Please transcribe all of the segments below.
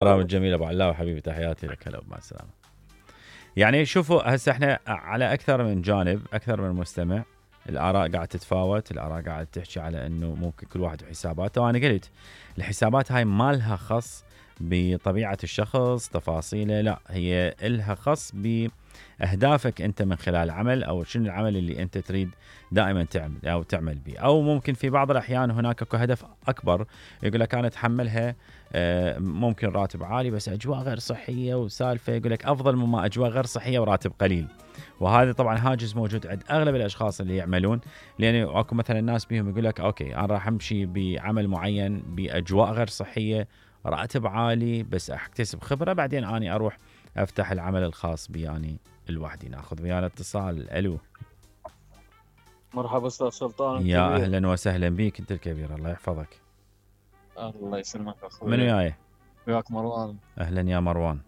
برامج جميل ابو علاوي حبيبي، تحياتي لك. هلا مع السلامه. يعني شوفوا هسه احنا على اكثر من جانب، اكثر من مستمع، الاراء قاعده تتفاوت، الاراء قاعده تحكي على انه ممكن كل واحد وحساباته، وانا قلت الحسابات هاي ما لها خص بطبيعه الشخص تفاصيله، لا هي لها خص باهدافك انت من خلال العمل، او شنو العمل اللي انت تريد دائما تعمل به، او ممكن في بعض الاحيان هناك اكو هدف اكبر يقول لك انا اتحملها، ممكن راتب عالي بس اجواء غير صحيه وسالفه، يقول لك افضل مما اجواء غير صحيه وراتب قليل. وهذا طبعا هاجس موجود عند اغلب الاشخاص اللي يعملون، لان اكو مثلا ناس بيهم يقول لك اوكي انا راح امشي بعمل معين باجواء غير صحيه، راتب عالي، بس اكتسب خبره، بعدين اني اروح افتح العمل الخاص بي يعني لوحدي. ناخذ ويانا اتصال. الو، مرحبا استاذ سلطان يا الكبير. اهلا وسهلا بيك انت الكبير، الله يحفظك. الله يسلمك اخوي. منو جاي؟ وياك مروان. اهلا يا مروان،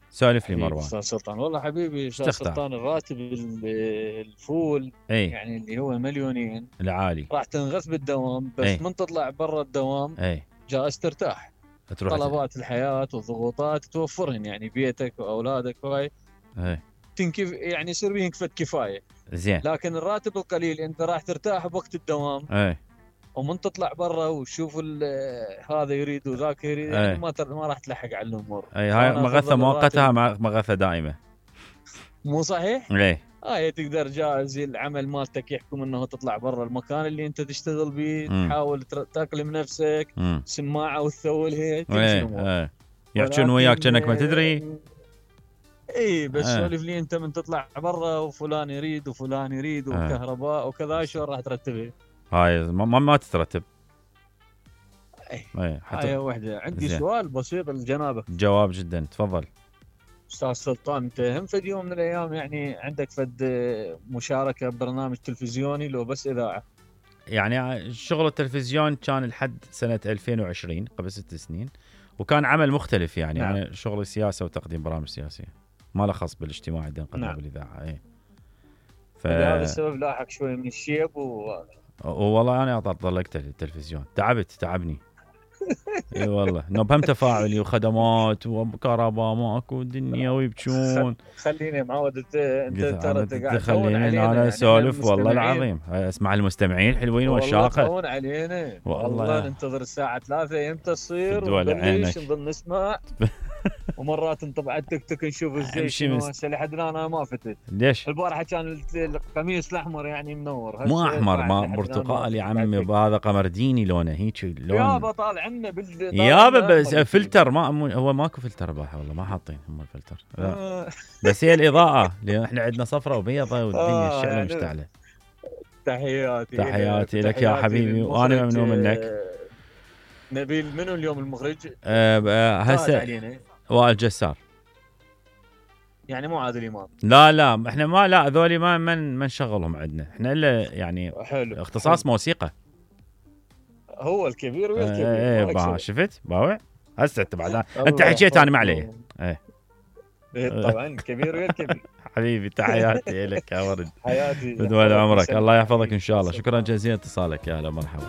سولف لي مروان. استاذ سلطان والله حبيبي استاذ تختار؟ سلطان، الراتب الفول اي يعني اللي هو مليونين العالي، راح تنغث بالدوام، بس اي من تطلع برا الدوام اي جالس ترتاح. تروح طلبات الحياة والضغوطات توفرهن، يعني بيتك واولادك وهاي اي تنكف، يعني يصير بيهم كفت كفاية. زين، لكن الراتب القليل انت راح ترتاح بوقت الدوام، اي ومن تطلع برا وتشوف هذا يريد وذاك يريد، يعني اي ما راح تلحق على الامور. اي هاي فانا مغثة افضل مؤقتة، الراتب. مغثة دائمة. مو صحيح؟ اي هاي تقدر جاهز العمل مالتك يحكم انه تطلع برا المكان اللي انت تشتغل به، تحاول تاكلم نفسك، سماعه وتثول هيك تمشي الامور. اي يحجون وياك كأنك ما تدري. اي بس سولف لي انت من تطلع برا وفلان يريد وفلان يريد وكهرباء وكذا، شلون راح ترتبها؟ هاي ما تترتب. هاي وحده. عندي سؤال بسيط لجنابك. جواب جدا، تفضل. استاذ سلطان، انت هم فد يوم من الايام يعني عندك فد مشاركه ببرنامج تلفزيوني لو بس اذاعه؟ يعني شغل التلفزيون كان لحد سنة 2020 قبل 6 سنين، وكان عمل مختلف يعني. نعم. أنا شغل سياسة وتقديم برامج سياسية، ما له خص بالاجتماع اللي نقدمه نعم. بالإذاعة. اي هذا السبب لاحق شوي من الشيب والله أنا طلقت التلفزيون، تعبني. اي والله نبهم تفاعلي وخدمات وكهرباء ماكو دنيا ويبكون. خليني معود انت ترى قاعد تخليني انا يعني اسولف والله العظيم، اسمع المستمعين حلوين والشاقه. والله علينا والله ننتظر الساعه 3 امتى تصير ونبلش نظل نسمع. ومرات نطبع التيك توك نشوف ازاي شنو. هسه لحد الان انا ما فتت. ليش؟ البارحه كان القميص الاحمر يعني منور، مو احمر، ما برتقالي يا عمي، هذا قمرديني لونه هيك لون. يابا طالع عنا يابا بس فلتر، ما هو ماكو فلتر باحه والله، ما حاطين هم الفلتر. بس هي الاضاءه، لان احنا عندنا صفرة وبيضة والدنيا الشعله يعني مشتعله. تحياتي لك يا حبيبي، وانا ممنون منك. نبيل منو اليوم المخرج؟ هسه وائل جسار، يعني مو عادل امام. لا احنا ما هذولي ما نشغلهم عندنا احنا الا يعني حلو. اختصاص موسيقى. هو الكبير ويا الكبير. شفت باوع هسه انت بعد انت حكيت انا ما عليه. طبعا الكبير ويا الكبير. حبيبي تحياتي لك يا ورد. حياتي بدول عمرك، الله يحفظك ان شاء الله. شكرا جزيلا اتصالك، يا هلا مرحبا.